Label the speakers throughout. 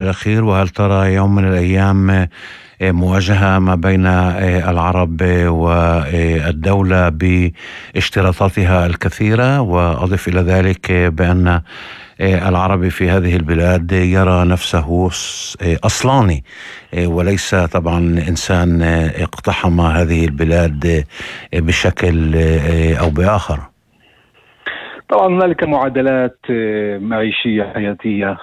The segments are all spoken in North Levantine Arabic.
Speaker 1: الأخير، وهل ترى يوم من الأيام مواجهة ما بين العرب والدولة باشتراطاتها الكثيرة؟ وأضف إلى ذلك بأن العربي في هذه البلاد يرى نفسه أصلاني وليس طبعا إنسان اقتحم هذه البلاد بشكل أو بآخر.
Speaker 2: طبعا هنالك معادلات معيشية حياتية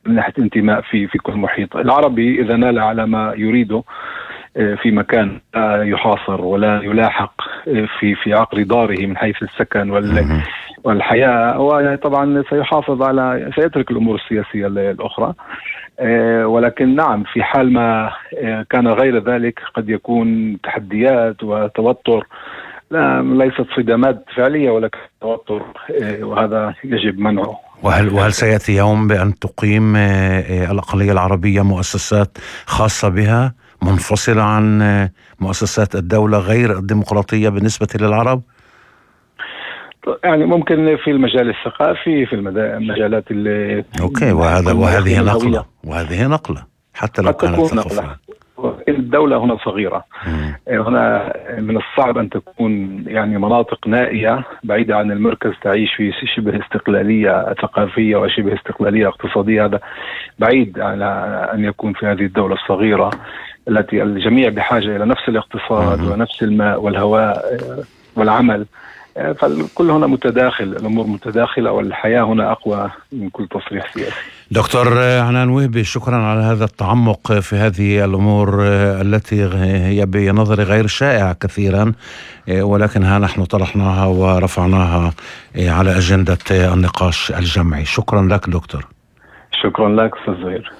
Speaker 2: من ناحية انتماء في كل محيط. العربي إذا نال على ما يريده في مكان لا يحاصر ولا يلاحق في عقر داره من حيث السكن والحياة، وطبعا سيترك الأمور السياسية الأخرى. ولكن نعم، في حال ما كان غير ذلك قد يكون تحديات وتوتر، ليست صدامات فعلية ولكن توتر، وهذا يجب منعه.
Speaker 1: وهل سيأتي يوم بأن تقيم الأقلية العربية مؤسسات خاصة بها منفصلة عن مؤسسات الدولة غير الديمقراطية بالنسبة للعرب؟
Speaker 2: يعني ممكن في المجال الثقافي، في المجالات
Speaker 1: أوكي، وهذه نقلة حتى لو كانت ثقافية.
Speaker 2: الدولة هنا صغيرة، هنا من الصعب أن تكون يعني مناطق نائية بعيدة عن المركز تعيش في شبه استقلالية ثقافية وشبه استقلالية اقتصادية. هذا بعيد على أن يكون في هذه الدولة الصغيرة التي الجميع بحاجة إلى نفس الاقتصاد ونفس الماء والهواء والعمل، فالكل هنا متداخل، الأمور متداخلة، والحياة هنا أقوى من كل تصريح سياسي.
Speaker 1: دكتور عنان وهبي، شكرا على هذا التعمق في هذه الأمور التي هي بنظري غير شائعة كثيرا، ولكن ها نحن طرحناها ورفعناها على أجندة النقاش الجمعي. شكرا لك دكتور.
Speaker 2: شكرا لك أستاذ زهير.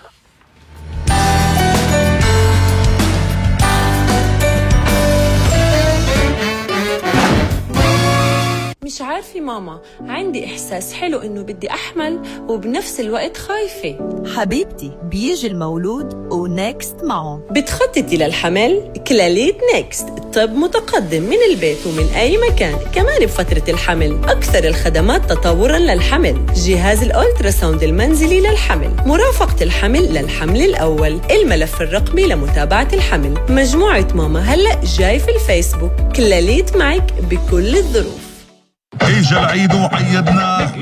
Speaker 3: مش عارفة ماما، عندي إحساس حلو إنه بدي أحمل وبنفس الوقت خايفة.
Speaker 4: حبيبتي، بيجي المولود ونكست معه.
Speaker 3: بتخططي للحمل؟ كلاليت نكست، طب متقدم من البيت ومن أي مكان، كمان بفترة الحمل. أكثر الخدمات تطورا للحمل، جهاز الأولتراساوند المنزلي للحمل، مرافقة الحمل للحمل الأول، الملف الرقمي لمتابعة الحمل. مجموعة ماما هلأ جاي في الفيسبوك، كلاليت معك بكل الظروف.
Speaker 5: اجا العيد وعيدنا،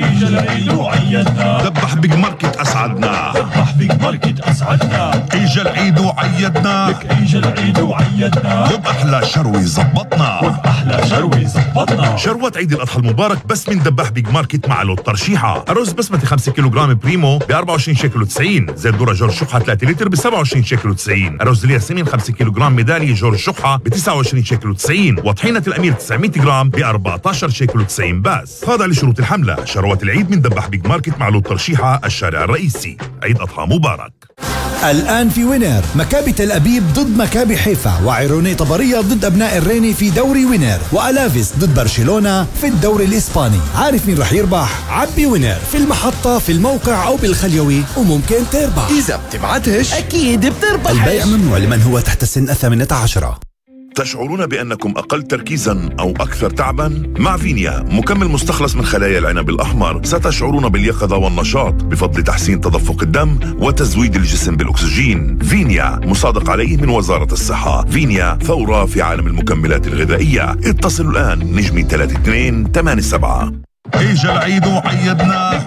Speaker 5: ذبح بيج ماركت اسعدنا، اجا العيد وعيدنا، وبأحلى شروي زبطنا، شروة عيد الأضحى المبارك بس من ذبح بيج ماركت مع لوت ترشيحة. الرز بسمتي 5 كيلوغرام بريمو ب 24 شيكل و90، زيت ذرة جورج شحة 3 لتر ب 27 شيكل و90، الرز الياسمين 5 كيلوغرام ميدالية جورج شحة ب 29 شيكل و90، وطحينة الأمير 900 جرام ب 14 شيكل و90 بس. هذا لشروط الحملة. شروة العيد من ذبح بيج ماركت مع لوت ترشيحة، الشارع الرئيسي. عيد أضحى مبارك.
Speaker 6: الآن في وينر، مكابي تل أبيب ضد مكابي حيفا، وعيروني طبرية ضد أبناء الريني في دوري وينر، وألافيس ضد برشلونة في الدوري الإسباني. عارف مين رح يربح؟ عبي وينر في المحطة، في الموقع أو بالخليوي، وممكن تربح.
Speaker 7: إذا بتبعتش أكيد بتربح.
Speaker 6: البيع ممنوع لمن هو تحت السن 18.
Speaker 5: تشعرون بأنكم أقل تركيزا أو أكثر تعبا؟ مع فينيا مكمل مستخلص من خلايا العنب الأحمر ستشعرون باليقظة والنشاط بفضل تحسين تدفق الدم وتزويد الجسم بالأكسجين. فينيا مصادق عليه من وزارة الصحة. فينيا ثورة في عالم المكملات الغذائية. اتصلوا الآن نجمي 3287. اجا العيد وعيدنا.